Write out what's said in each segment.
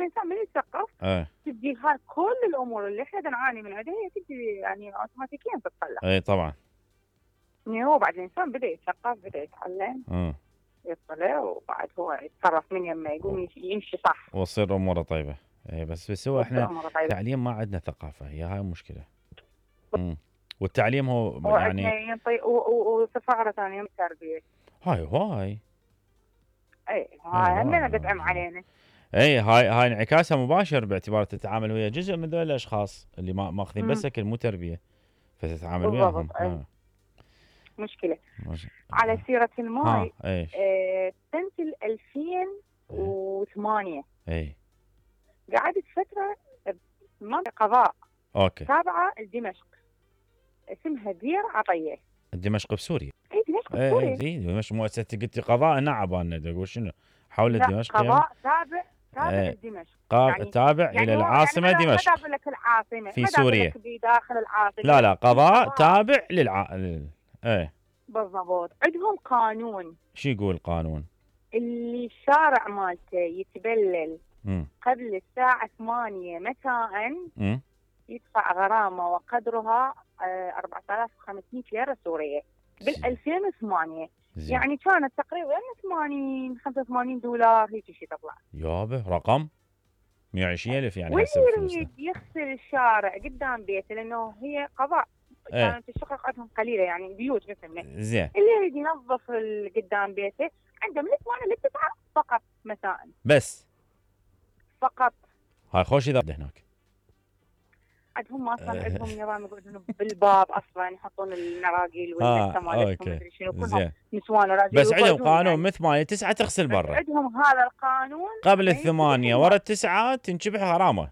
الانسان من يتثقف تجي هاي كل الامور اللي احنا نعاني من عندها هي تجي يعني اوتوماتيكيا تتصلح. اي طبعا. يعني هو بعد الانسان بدا يتثقف، بدا يتعلم، يطلع، وبعد هو يتصرف من يمه يقوم يمشي صح وتصير اموره طيبه. اي بس هو احنا تعليم ما عندنا ثقافه، هي هاي المشكله. والتعليم هو يعني وصفاره ثانيه التربيه. هاي هاي همنا بتعم علينا. اي هاي انعكاسها مباشر، باعتبار تتعامل ويا جزء من ذول الاشخاص اللي ماخذين بس اكل مو تربيه، فتتعامل وياهم. مشكله. على سيره الماي، سنه 2008 قعدت فتره بمنطقه قضاء تابعه لدمشق اسمها دير عطيه. دمشق بسوريا. اي دمشق بسوريا. اي دمشق مؤسسه قلتي قضاء نعب انا تقول شنو حول دمشق؟ قضاء تابع لدمشق. يعني تابع الى العاصمه دمشق. ما دام لك العاصمه في سوريا بداخل العاصمه. لا قضاء تابع بالضبط. عندهم قانون. شو يقول القانون؟ اللي الشارع مالته يتبلل قبل الساعه 8 مساء يدفع غرامه وقدرها 4500 ليره سوريه بال 2008. يعني كانت تقريبا 85 دولار هيك شيء تطلع. يابا رقم 120,000 يعني. واللي يريد يغسل الشارع قدام بيته لانه هي قضاء كانت الشقق عندهم قليله يعني بيوت مثلنا. زين. اللي يريد ينظف قدام بيته عنده من 8 ل 9 فقط مساء. بس فقط. هاي خوش اذا هناك. عندهم اصلا عندهم نظام يقعدون بالباب اصلا يحطون النراقيل والمسه مالتهم مدري شنو كلهم نسوان وراجل. بس عندهم قانون من 8 ل 9 تغسل برا. عندهم هذا القانون. قبل 8 ورا 9 تنشبح غرامه.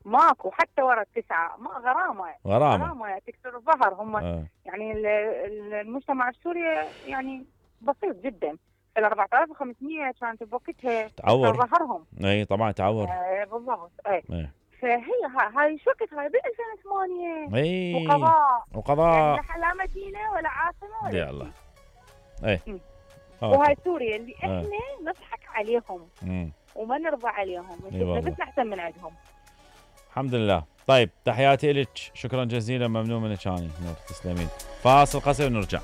ماكو حتى ورا 9 ما غرامه تكسر الظهر. هم يعني المجتمع السوري يعني بسيط جدا. ال 4500 كانت بوقتها تعور ظهرهم. اي طبعا تعور. بالضبط. فهي هاي شو وقت هاي ب 2008. وقضاء يعني لا مدينه ولا عاصمه ولا يا الله. وهاي سوريا اللي احنا نضحك عليهم وما نرضى عليهم بس احسن من عندهم. الحمد لله. طيب تحياتي لك، شكرا جزيلا، ممنون منك. اني نور تسلمين. فاصل قصير نرجع.